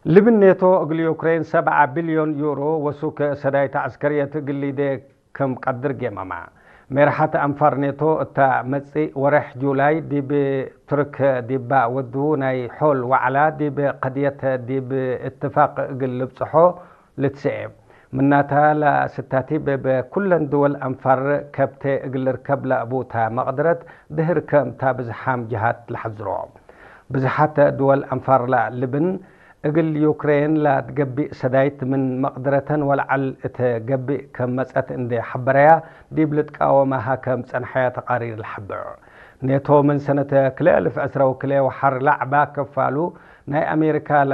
ልብን ኔቶ እግል ዩክሬን ሰብዓ ቢልዮን ዩሮ ወሱክ ሰዳይት ዐስከርየት እግል ሊዴ ከም ቀድር ጌመማ። ሜርሓት ኣንፋር ኔቶ እታ መጽእ ወርሕ ጁላይ ዲብ ቱርክ ዲባ ወዱ ናይ ሖል ዋዕላ ዲብ ቀድየት ዲብ እትፋቅ እግል ልብጽሖ ልትስኤ። ምናታ ላስታቲ በበ ኩለን ድወል ኣንፋር ከብተ እግል ርከብ ላእቡታ መቅድረት ድህር ከም ታ ብዝሓም ጅሃት ለሐዝሮ። ብዝሓት ድወል ኣንፋር ላ ልብን እግል ዩክሬን ላትገቢእ ሰዳይት ምን መቅድረተን ወልዓል እተ ገቢእ ከም መጸት እንደ ሐበረያ ዲብ ልትቃወማ ሃከም ጸንሐያ ተቃሪር ለሐብር። ኔቶ ምን ሰነተ ክልኤ እልፍ ዕስራ ወክልኤ ወሓር ላዕባ ከፋሉ ናይ ኣሜሪካ ላ